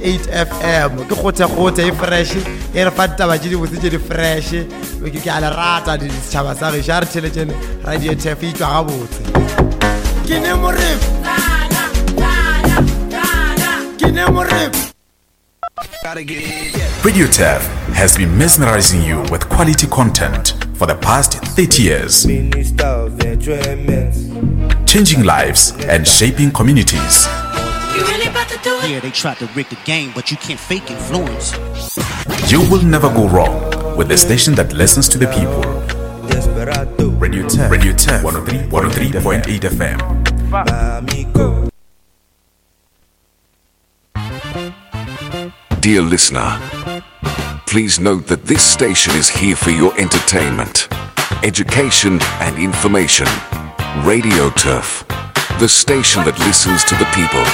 103.8 FM. Ke kgothekgothe e fresh, e re fa ditaba tše dibotse tše di fresh. Ke ke a le rata di setšhaba sa gešo, a re theletšene Radio Turf e tšwa gabotse. Ke ne morepo. Ke ne morepo. Radio Turf has been mesmerizing you with quality content for the past 30 years. Changing lives and shaping communities. Yeah, they tried to rig the game, but you can't fake influence. You will never go wrong with the station that listens to the people. Radio Turf, Radio Turf 103.8 FM. Dear listener, please note that this station is here for your entertainment, education, and information. Radio Turf, the station that listens to the people.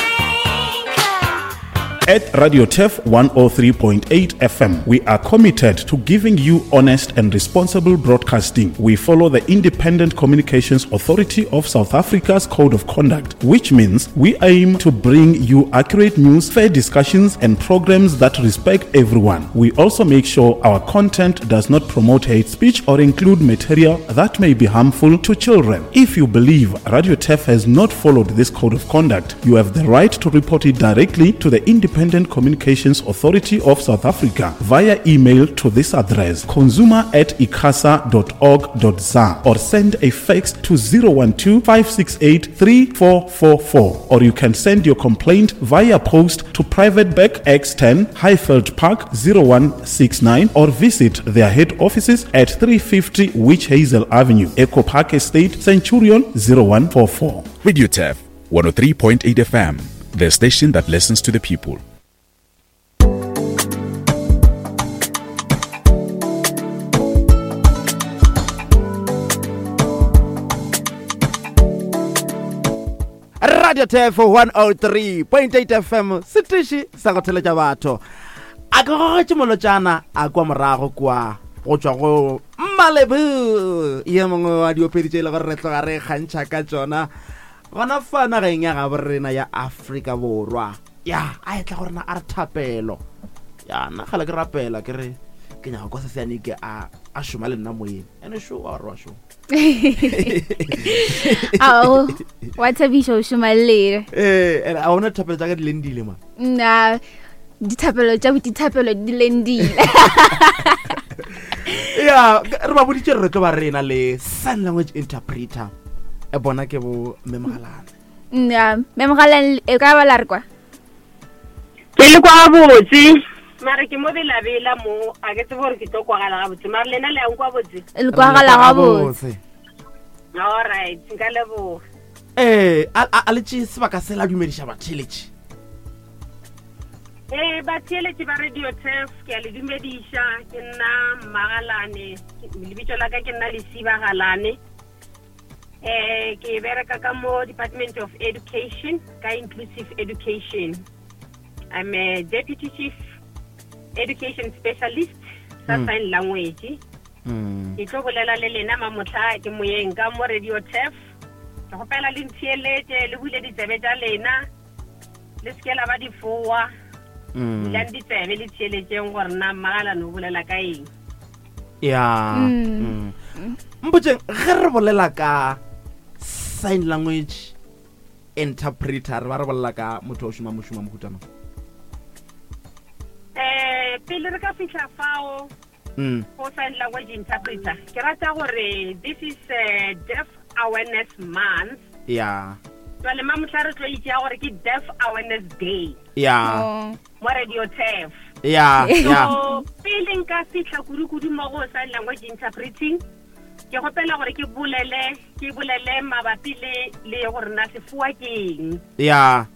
At Radio Turf 103.8 FM, we are committed to giving you honest and responsible broadcasting. We follow the Independent Communications Authority of South Africa's Code of Conduct, which means we aim to bring you accurate news, fair discussions, and programs that respect everyone. We also make sure our content does not promote hate speech or include material that may be harmful to children. If you believe Radio Turf has not followed this code of conduct, you have the right to report it directly to the Independent Communications Authority of South Africa via email to this address consumer at icasa.org.za or send a fax to 012 568 3444 or you can send your complaint via post to Private Bank X10 Highveld Park 0169 or visit their head offices at 350 Witch Hazel Avenue, Echo Park Estate, Centurion 0144. Radio Turf 103.8 FM, the station that listens to the people. Radio Turf 103.8 FM setiši sa go theletša batho a ke gogetše molotšana a kwa morago kwa go tšwa go Malebu ye mongwe wa diopedi tše e le gore re tloga re kgantšha ka tšona gona fa nageng ya gabo rena ya Afrika Borwa ya a etla go rena a re thapelo ya nna kgale ke rapela ke re ke nyaka kwa seseane ke a a šoma le nna moyeng ene šo wa gore wa šoma Ao, wa thabiša o šoma le lena. ee ene a ona thapelo tša ka di lendile ma Nna dithapelo tša dithapelo di lendile. ya re ba boditše re tlo ba rena le sign language interpreter e bona ke bo memogalana Nna memogalana e ka ba la re kwa. Ke le kwa gabotse mare ke mo belabela mo a ke tsebe gore ke tlo kwagala gabotse mare lena le yang kwa botse Le kwagala gabotse. Alright, nka leboga. Ee, a le tšee sebaka se la dumediša batheeletši. Ee, batheeletši ba Radio Turf, ke a le dumediša. Ke nna Mmagalane, lebitso la ka ke nna Lesiba Galane. Eh, ke bereka ka mo Department of Education, ka Inclusive Education. I'm a deputy chief education specialist sa mm. sign language. Mm. Ke tlo bolela le lena mamotlha ke moyeng ka mo Radio Turf. Ke gopela le ntheeletše le bule ditsebe tša lena le seke la ba difoa. Mm. Bulang ditsebe le theeletšeng gore na mmagalane o bolela ka eng. ya mm. mm. mpotseng ge re bolela ka sign language interpreter re ba re bolela ka motho wa o šoma mošomo wa mohuta mang um pele re ka fitlha fao mm. go sign language interpreter ke rata gore this is a deaf awareness month ya jale mamotlha re tlo itsea gore ke deaf awareness day ya oh. mo radio turf ya ya so pele nka fitlha kudu-kudu mo go sign language interpreting ke gopela gore ke bolele ke bolele mabapi le le gore na sefoa ke eng ya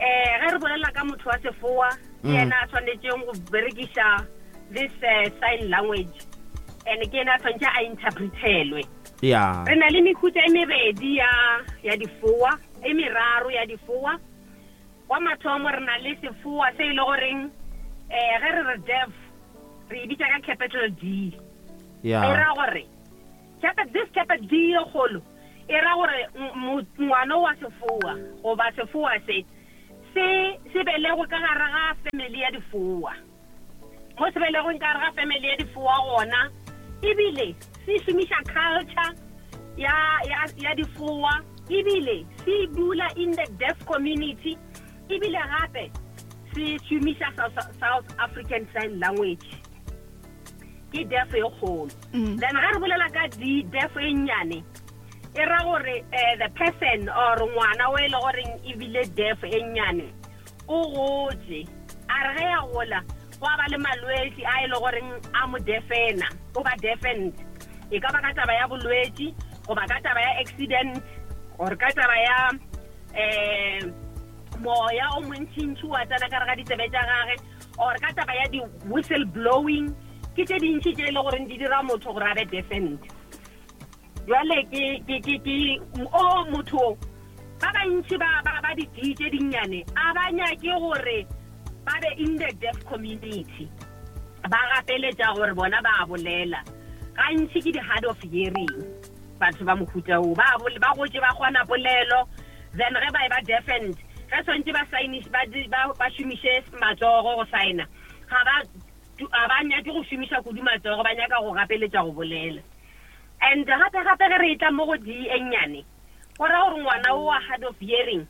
eh ge re bolela ka motho wa sefoa ke mm. yena a tshwanetseng go berekiša this uh, sign language and ke yena a tshwanetse a interpretelwe ya re na le mehuta e mebedi ya ya difoa e meraro ya difoa Wa mathomo re na le sefoa se e le goreng um ge re re deaf re e bitša ka capital D. Yeah. E ra gore this capital D e kgolo e ra gore ngwana wa sefoa goba sefoa se Se se belegwe ka gare ga family ya difoa. Mo se belegweng ka gare ga family ya difoa gona, ebile se šomiša culture ya, ya, ya difoa, ebile se dula in the deaf community, ebile gape se šomiša South, South African Sign Language. Ke deaf e kgolo. Then ga re bolela ka di deaf e nnyane, e ra gore eh, the person or ngwana o e le goreng ebile deaf e nnyane o gotše, a re ge ya gola gwa ba le malwetši a e le goreng a mo defena, o ba deafened, e ka ba ka taba ya bolwetši goba ka taba ya accident or ka taba ya um moya o montšintši wa tsena ka re ga ditsebe tša gage or ka taba ya di-whistle blowing. Ke tše dintši tše e le goreng di dira motho gore a be deafened. Jwale ke ke ke ke o motho ba bantši ba ba ba di tše dinnyane a ba nyake gore ba be in the deaf community, ba gapeletša gore bona ba bolela. Gantši ke di-hard of hearing batho ba mohuta o, ba ba gotše ba kgona polelo, then ge ba e ba deafened, ge swantše ba sign ba ba šomiše matsogo go signa, ga ba ga ba nyake go šomiša kudu matsogo, ba nyaka go gapeletša go bolela. And gape gape ge re etla mo go D e nnyane, go ra gore ngwana o wa hard of hearing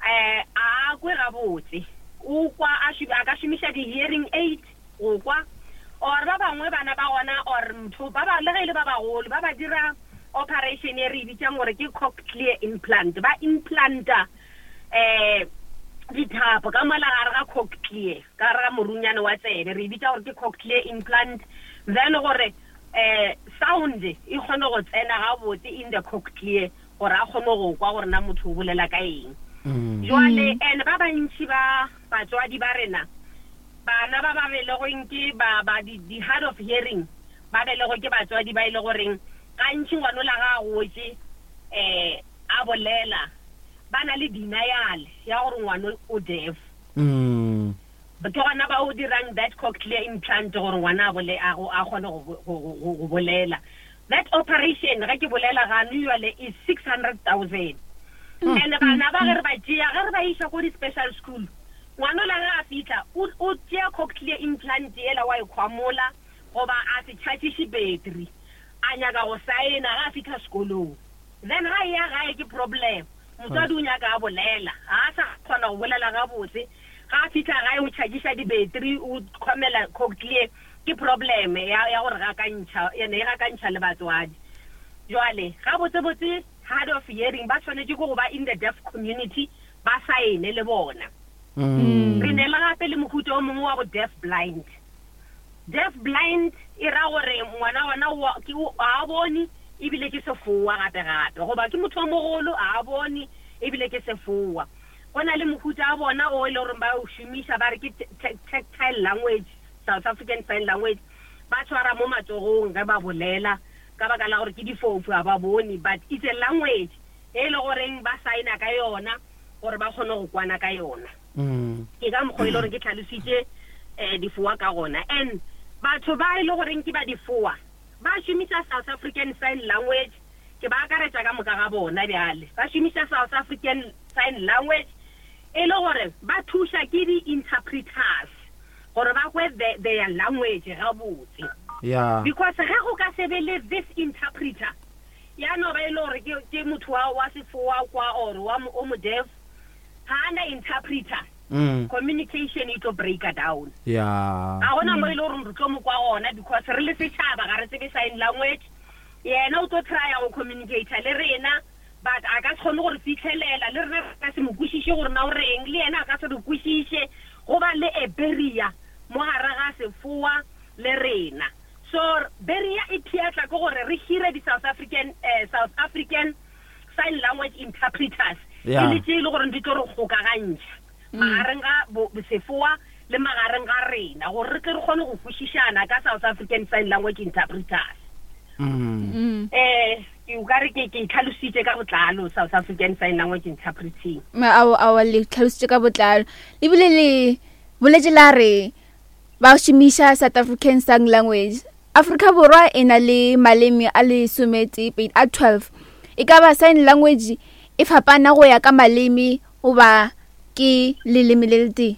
um a kwe gabotse, o kwa a a ka šomiša di-hearing aid go kwa, or ba bangwe bana ba gona or motho ba ba le ge e le ba bagolo ba ba dira operation e re e bitsang gore ke cochlear implant, ba implanta um dithapo ka mola gare ga cochlear, ka gare ga morunyane wa tsebe, re e bitsa gore ke cochlear implant, then gore um sound e kgone go tsena gabotse in the cochlear gore a kgone go kwa gore na motho o bolela ka eng. Jwale and ba bantši ba batswadi ba rena, bana ba ba belegweng ke ba ba di, di hard of hearing, ba belegwe ke batswadi ba e le goreng gantši ngwanola ga a gotše um a bolela, ba na le denial ya gore ngwano o deaf. Ke gona ba o dirang that cochlear implant gore ngwana a bole, a go, a kgone go, go, go, go bolela. That operation, ge ke bolela gano jwale, is 600,000. And bana ba ge re ba tšea, ge re ba iša ko di-special school, ngwana ola ge a fihla, o, o tšea cochlear implant yela wa e khwamola, goba a se charge-iše battery, a nyaka go saena ge a fihla sekolong. Then ga e ya gae ke problem. Motswadi o nyaka a bolela, ga a sa kgona go bolela gabotse. Ga a fihla gae o charge-iša di-battery, o khomela cochlear, ke problem ya, ya gore gakantšha, ene e gakantšha le batswadi. Jwale, gabotsebotse hard of hearing ba swanetše ke go ba in the deaf community, ba saene le bona. Re ne le gape le mohuta o mongwe wa bo deaf blind. Deaf blind e ra gore ngwana gona wa, ke, ga a bone ebile ke sefoa gape gape, goba ke motho o mogolo ga a bone ebile ke sefoa. Go na le mohuta wa bona o e le goreng ba o šomiša, ba re ke tactile language, South African Sign Language, ba tshwara mo matsogong ge ba bolela ka baka la gore ke difofu, ga ba bone, but it's a language e le goreng ba signa ka yona gore ba kgone go kwana ka yona. Ke ka mokgwa e le gore ke tlhalositše um difoa ka gona. And batho ba e le goreng ke ba difoa ba šomiša South African Sign Language, ke ba akaretša ka moka ga bona bjale, ba šomiša South African Sign Language e le gore ba thuša ke di-interpreters gore ba kwe their language gabotse. Because ge go ka se be le this interpreter, ya no ba e le gore ke motho wa sefoa kwa or wa o mo deaf, ga a na interpreter, communication e tlo breaka down. Ga gona mo e le gore re tlo mo kwa gona, because re le setšhaba ga re tsebe sign language. Yena o tlo trya go communicata le rena, but a ka se kgone go re fitlhelela, le rena re ka se mo kwešiše gore na o reng, le yena a ka se re kwešiše. Go ba le a barrier mo gare ga sefoa le rena. So barrier e phiatla ke gore re hire di-South African, South African Sign Language interpreters, e le tše e le gore di tlo re kgokagantšha magareng ga sefoa le magareng ga rena, gore re tle re kgone go kwešišana ka South African Sign Language interpreters. Ke o ka re ke ke tlhalositše ka botlalo South African Sign Language interpreting. Ao, ao, le tlhalositše ka botlalo, ebile le boletše la re ba šomiša South African Sign Language. Afrika Borwa e na le maleme a lesometee pedi a 12. E ka ba sign language e fapana go ya ka maleme goba ke leleme le letee?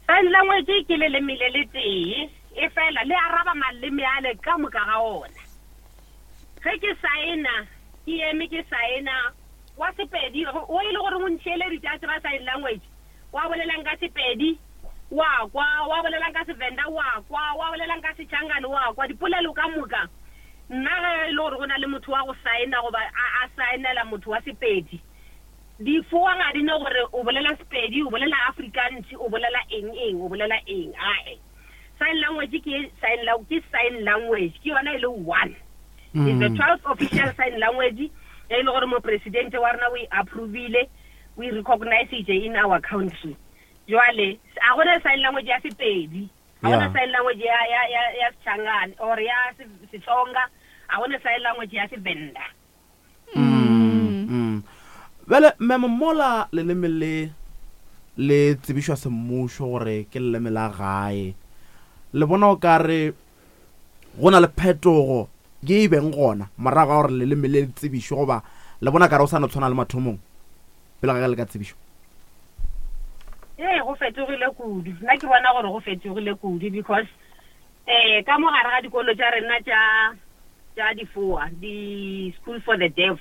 Sign language ke leleme le letee, efela le araba maleme ale ka moka ga ona. Ge ke saena, ke eme ke saena, wa Sepedi, o e le gore o ntheeleditše a tseba sign language, wa bolelang ka Sepedi, wa kwa, wa bolelang ka Sevenda, wa kwa, wa bolelang ka Sechangane, wa kwa, dipolelo ka moka. Nna ge e le gore go na le motho wa go saena goba a, a saenela motho wa Sepedi, difoa ga di ne gore o bolela Sepedi, o bolela Afrikaans, o bolela eng eng, o bolela eng, ae. Sign language ke sign, ke sign language, ke yona e le one. Is the 12th official sign language e le gore mopresidente wa rena o e approvile, o e recognizitše in our country. Jwale, a gona sign language ya Sepedi, a gona sign language ya, ya, ya, ya Sechangane or ya Setsonga, a gona sign language ya Sevenda. Bjale, memo mola leleme le le tsebišwa semmušo gore ke leleme la gae, le bona o ka re go na le phetogo ye e beng gona morago ga gore leleme le le tsebišwe, goba le bona ka re o sa no tshwana le mathomong pele ga ge le ka tsebišwa? Ee, go fetogile kudu. Nna ke bona gore go fetogile kudu because um ka mo gare ga dikolo tša rena tša tša difoa, di-school for the deaf,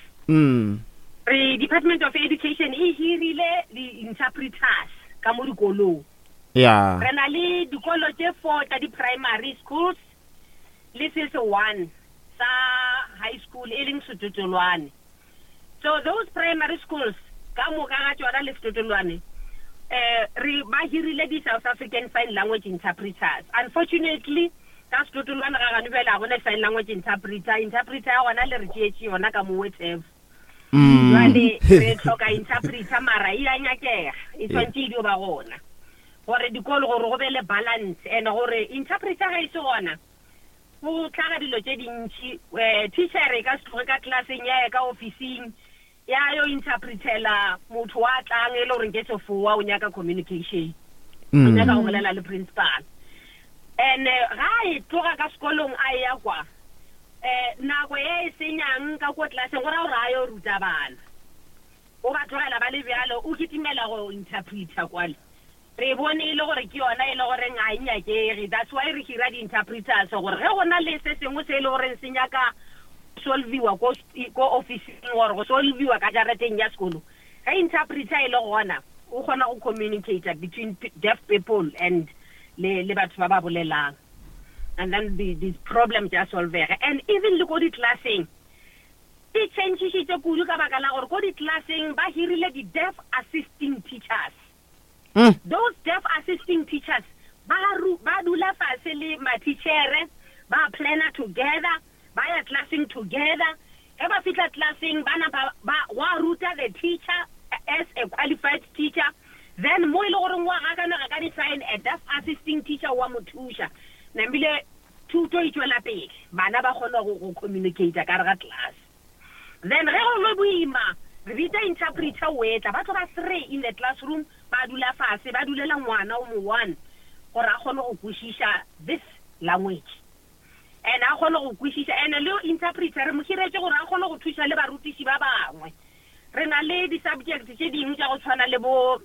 re Department of Education e hirile di-interpreters ka mo dikolong. Re na le dikolo tše four tša di-primary schools le se se one sa high school e leng Setotolwane. So those primary schools ka moka ga tšona le Setotolwane eh re ba hirile di South African Sign Language interpreters. Unfortunately ka Setotolwane ga gane bjale ga gona sign language interpreter, interpreter ya gona le re tšeetše yona ka mo Wetef. Jwale re hloka interpreter mara e a nyakega, e tshwanetse e dio ba gona gore dikolo gore go be le balance and gore interpreter ge e se gona go hlaga dilo tše dintši. Um teacher e ka se tloge ka classeng ya ya ka officing ya yo interpretela motho wa tlang e le gore ke sefoa o nyaka communication, o nyaka go bolela le principal. And ga e tloga ka sekolong a ya kwa um nako e e senyang ka ko classeng go ra gore a yo ruta bana, o ba tlogela ba le bjalo, o kitimela go interpreter kwale. Re bone e le gore ke yona e le goreng ga e nyakege, that's why re hira di-interpreters gore ge go na le se sengwe se e le goreng se nyaka solviwa ko, ko officing or go solviwa ka jarateng ya sekolo, ge interpreter e le gona o kgona go communicate between deaf people and le, le batho ba ba bolelang, and then the, the problem tša solvega. And even le ko di-classeng e changišitše kudu ka baka la gore ko di-classeng ba hirile di-deaf assisting teachers. Those deaf assisting teachers ba ru, ba dula fase le mathitšhere, ba planner together, ba ya classeng together. Ge ba fihla classeng ba napa ba gwa ruta the teacher as a qualified teacher. Then mo e le goreng wa gakanega ka di-sign, a deaf assisting teacher wa mo thuša. Namile thuto e tšwela pele, bana ba kgona go, go communicate ka gare ga class. Then ge go le boima, re bitsa interpreter o etla, ba tlo ba three in the classroom, ba dula fase, ba dulela ngwana o mo one gore a kgone go kwešiša this language. And a kgone go kwešiša, and le interpreter re mo hiretše gore a kgone go thuša le barutiši ba bangwe. Re na le di-subject tše dingwe tša go tshwana le bo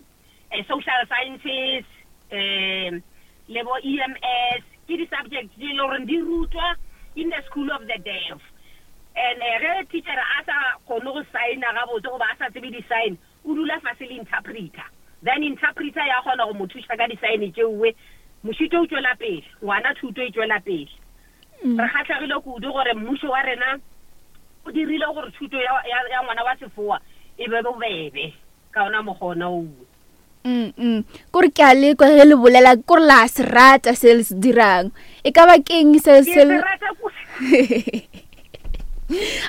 social sciences, um le bo EMS, ke di-subject tše e le goreng di rutwa in the school of the deaf. And ge teacher a sa kgone go signa gabotse goba a sa tsebe di-sign, o dula fase le interpreter, then interpreter ya kgona go mo thuša ka di-sign tšeoe, mošito o tšwela pele, ngwana thuto e tšwela pele. Re kgahlegile kudu gore mmušo wa rena o dirile gore thuto ya, ya, ya ngwana wa sefoa e be bobebe. Ka ona mokgwa ona owe. Mm, mm. Kore ke a lekwa ge le bolela, kore la se rata se le se dirang. E ka ba keng se Ke se se rata kudu.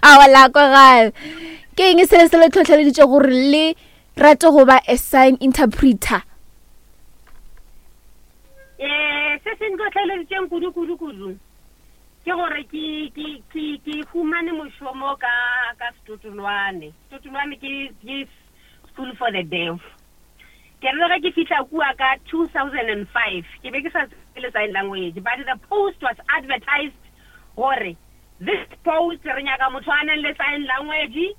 Aowa, la kwagala. Ke eng se se le tlhotlheleditše gore le rate go ba a sign interpreter? Eh, se se ntlhotlheleditšeng kudu kudu kudu ke gore ke ke ke ke humane mošomo ka ka Setotolwane. Setotolwane ke ke School for the Deaf. Ke re ge ke fihla kua ka 2005 ke be ke sa tsebe le sign language, but the post was advertised gore this post re nyaka motho a nang le sign language.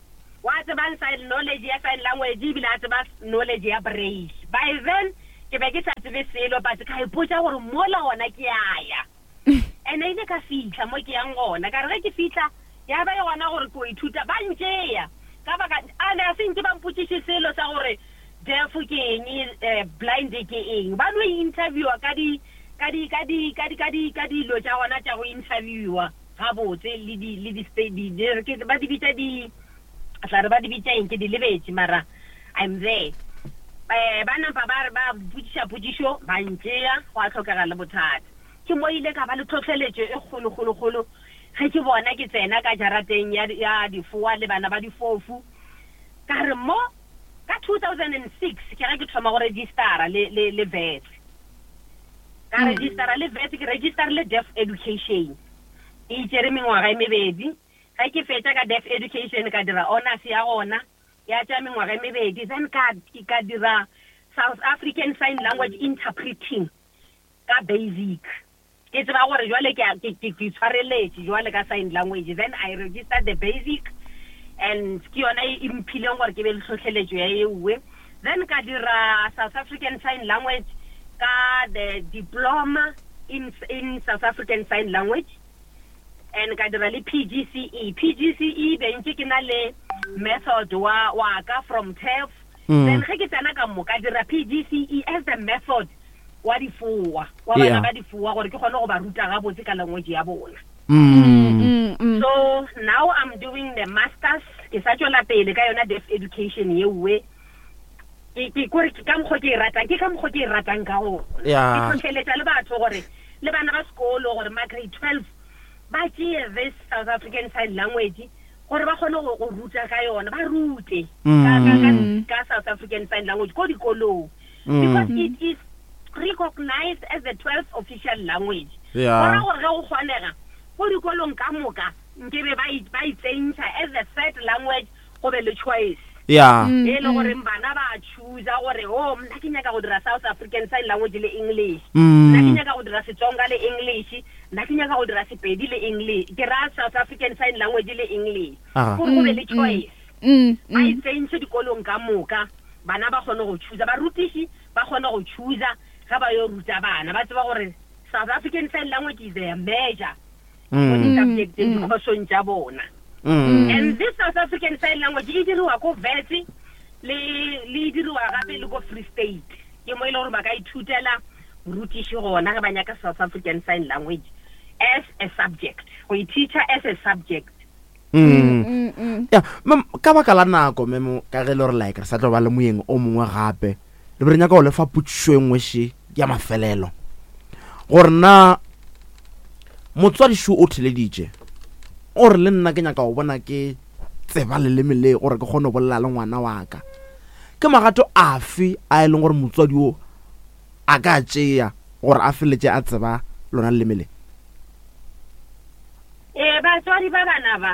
Wa tsebang sign knowledge ya sign language ebile a tseba knowledge ya braille. By then ke be ke sa tsebe selo but ka ipotša gore mola gona ke a ya. And ile ka fihla mo ke yang gona, ka re ge ke fihla ya ba e gona gore ke o ithuta, ba ntšea ka baka a ne a se nke ba mpotšiše selo sa gore deaf ke eng, blind ke eng. Ba no interviewa ka di ka di ka di ka di ka di ka dilo tša gona tša go interviewa. Gabotse, le di, le di, di, di, ke, ba di bitša di, tla re ba di bitša eng, ke di lebetše, mara I'm there. Eh, ba nampa ba re ba botšiša potšišo, ba ntšea, gwa hlokega le bothata. Ke mo ile ka ba le tlhohleletšo e kgolo, kgolo, kgolo, ge ke bona ke tsena ka jarateng ya, ya difoa le bana ba difofu. Ka re mo, ka 2006, ke ge ke thoma go registera le, le, le Wits. Ka registera le Wits, ke registerile Deaf Education. E itšere mengwaga e mebedi. Ge ke fetša ka Deaf Education ka dira Honours ya gona, ya tšea mengwaga e mebedi. Then ka, ka dira South African Sign Language Interpreting ka Basic. Ke tseba gore jwale ke, ke, ke, ke tshwareletše jwale ka sign language. Then I registered the Basic and ke yona e, e mphileng gore ke be le tlhohleletšo ya eue. Then ka dira South African Sign Language ka the Diploma in, in South African Sign Language and ka dira le PGCE. PGCE be ntše ke na le method wa, wa ka from TEF. Then ge ke tsena ka mo ka dira PGCE as the method wa difoa, wa bana ba difoa gore ke kgone go ba ruta gabotse ka language ya bona. So now I'm doing the masters, ke sa tšwela pele ka yona deaf education yeuwe. Ke, ke, kore ke ka mokgwa ke e ratang, ke ka mokgwa ke e ratang ka gona. Ke hlohleletša le batho gore, le bana ba sekolo gore ma grade 12 ba tšee this South African Sign Language gore ba kgone go, go ruta ka yona, ba rute ka, ka, ka, ka South African Sign Language ko dikolong. Because it is recognized as the 12th official language. Go ra gore ge go kgonega ko dikolong ka moka nkebe ba e, ba e tsentšha as the third language, go be le choice. E le gore bana ba choosa gore, oh, nna ke nyaka go dira South African Sign Language le English. Nna ke nyaka go dira Setsonga le English. Nna ke nyaka go dira Sepedi le English. Ke ra South African Sign Language le English. Gore go be le choice. Ba e tsentšhe dikolong ka moka, bana ba kgone go choosa, barutiši ba kgone go choosa ge ba yo ruta bana, ba tseba gore South African Sign Language is their measure mo di-subjecteng, dikhosong tša bona. And this South African Sign Language e diriwa ko Wits le, le e diriwa gape le ko Free State. Ke mo e le gore ba ka ithutela borutiši gona ge ba nyaka South African Sign Language as a subject, go e teacher as a subject. Ya, ma'am, ka baka la nako, ma'am, ka ge e le gore like re sa tlo ba le moyeng o mongwe gape, re be re nyaka go lefa potšišo e nngwe še ya mafelelo, gore na motswadi šo o theleditše o re le nna ke nyaka go bona ke tseba leleme le gore ke kgone go bolela le ngwana wa ka, ke magato afe a e leng gore motswadi o a ka tšea gore a feleletše a tseba lona leleme le? Ee, batswadi ba bana ba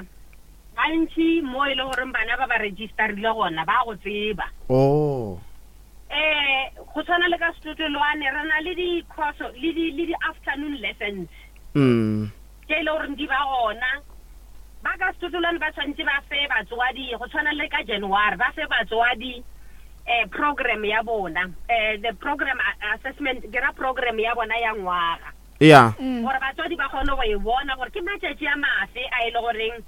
gantši mo e le goreng bana ba ba registerile gona ba go tseba. Oh. Eh, go tshwana le ka Setotolwane re na le di-course le di le di-afternoon lessons. Tše e le goreng di ba gona. Ba ka Setotolwane ba tshwanetse ba fe batswadi, go tshwana le ka January, ba fe batswadi eh program ya bona, eh the program assessment, ke ra program ya bona ya ngwaga. Ya. Gore batswadi ba kgone go e bona gore ke matšatši a mafe a e le goreng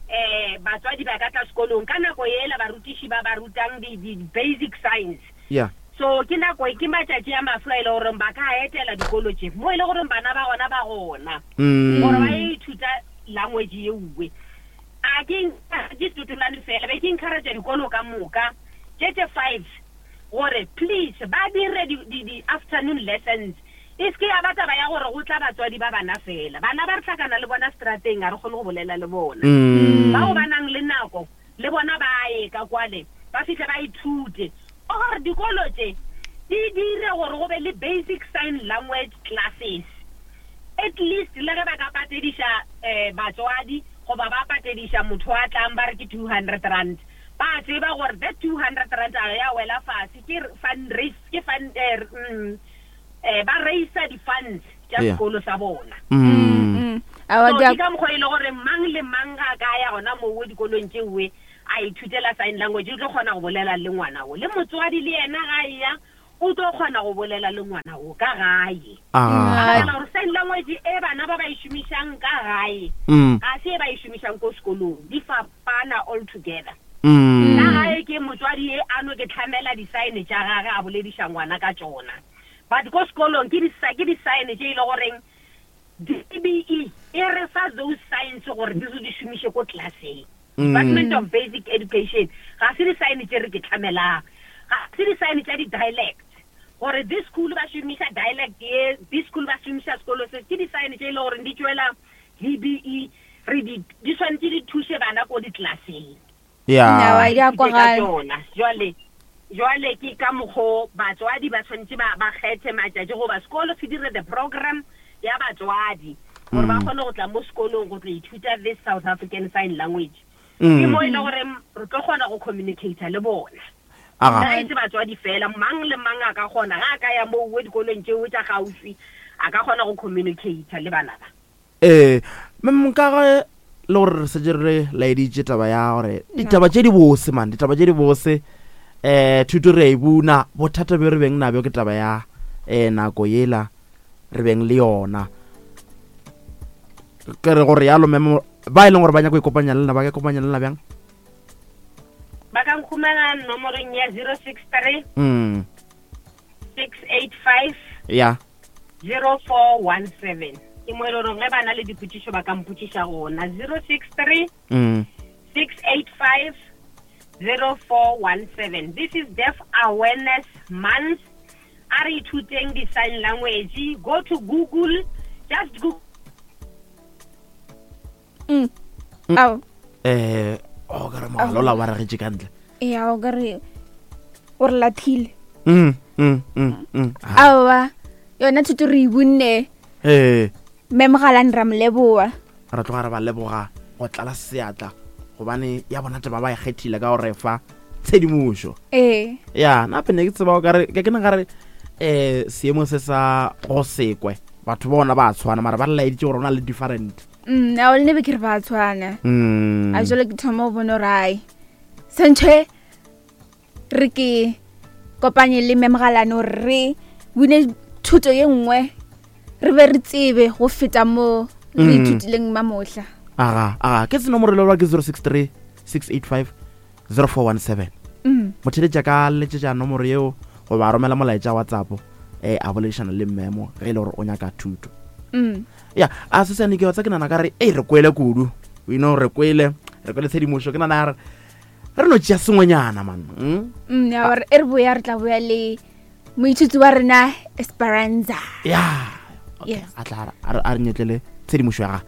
um batswadi ba ka tla sekolong ka nako yela barutiši ba ba rutang di, di basic science. Ya. So ke nako ke matšatši a mafe a e le goreng ba ka etela dikolo tše mo e le goreng bana ba gona ba gona gore ba ye ithuta language ye uwe. A ke ke Setotolane fela, be ke encourage dikolo ka moka tše tše five gore please ba dire di, di, di afternoon lessons. E se ke ya ba taba ya gore go tla batswadi ba bana feela. Bana ba re hlakana le bona seterateng, ga re kgone go bolela le bona. Bao ba nang le nako le bona ba ye ka kwale ba fihle ba ithute. Or dikolo tše di dire gore go be le basic sign language classes. At least le ge ba ka patediša batswadi goba ba patediša motho a tlang ba re ke R200, ba tseba gore that R200 a ya wela fase, ke fundraise, ke fund, eh, ba raisa di-funds tša Yeah. sekolo sa bona. Aowa, So di a- ke ka mokgwa e le gore mang le mang ga a ka ya gona mowe dikolong tšeoe, a ithutela sign language o tlo kgona go bolela le ngwana wo le motswadi le yena ga eya o tlo kgona go bolela le ngwana wo ka gae Ah. Ka gore sign language e bana ba ba e šomišang ka gae Mm. ga se e ba e šomišang ko sekolong di fapana all together Mm. ka gae ke motswadi e a no ke tlhamela di-sign tša gage a bolediša ngwana ka tšona but ko sekolong ke di-sign tše e le goreng DBE e re fa those signs gore di re di šomiše ko classeng Mm. Department of Basic Education ga se di-sign tše re ke tlhamelang ga se di-sign tša di-dialect gore this school ba šomiša dialect ye this school ba šomiša sekolo se ke di-sign tše e le gore di tšwela DBE re di di swanetše di thuše bana ko di-classeng ya Nyawa, di a ka kwagala. tšona jwale jwale ke ka mokgo batswadi ba tshwanetse ba ba kgethe matšatši goba sekolo se dire the program ya batswadi gore ba kgone go tla mo sekolong go tlo ithuta this South African Sign Language ke mo e le gore re tlo kgona go communicata le bona Aga. ga e se batswadi fela mang le mang a ka kgona ga a ka ya moo dikolong tšeo tša gaufi a ka kgona go communicata le bana ba ee mem ka ge le gore re setse re laeditše taba ya gore ditaba tše di bose man ditaba tše di bose um thuto re a e buna bothata bjo re beng nabjo ke taba ya um nako yela re beng le yona ke re gore yalo memo ba e leng gore ba nyaka go ikopanya le nna ba ka ikopanya le nna bjang ba ka nkhumana nomorong ya 063 mm 685 ya 0417 ke mo e le goreng ge ba na le dipotšišo ba ka mpotšiša gona 063 mm 685 0417 this is deaf awareness month a re ithuteng di-sign language go to google just google Mm. Ao. eh o ka re mogalola wa regetše ka ntle Ya o ka re o re lathile. mm mm mm mm Ah, Aowa. Yona thuto re e bunne. eh Mme Mogalane ra mo leboa. re tloga re ba leboga go tlala seatla gobane ya bona taba ba e kgethile ka gore fa tshedimošo Ee. ya nape ne ke tseba o kare ke ke ne gare um seemo se sa go sekwe batho bona ba tshwana mara ba re laeditše gore o na le different Mm, ao le ne be ke re ba tshwana. mm. A jalo ke thoma go bona gore ai. Sentšhe re ke kopanye le Mme Mogalane gore re bune thuto ye nngwe re be re tsebe go feta mo re Mm. ithutileng mamohla. aga aga ke senomoro le ke 063 685 0417 Mm. motheletša ka letšetša nomoro yeo goba a romela molaetša whatsapp um a boledišana le mmemo ge e le gore o nyaka thuto Mm. ya a se sane ke wa tsa ke nana ka re ei re kwele kudu you know re kwele re kwele tshedimošo ke nana ya re re no tšea sengwenyana man mm? Mm, ya gore e re boya re tla boya le moithuti wa rena Esperanza. ya Yes. a tla a re- a re nyetlele tshedimošo ya gage.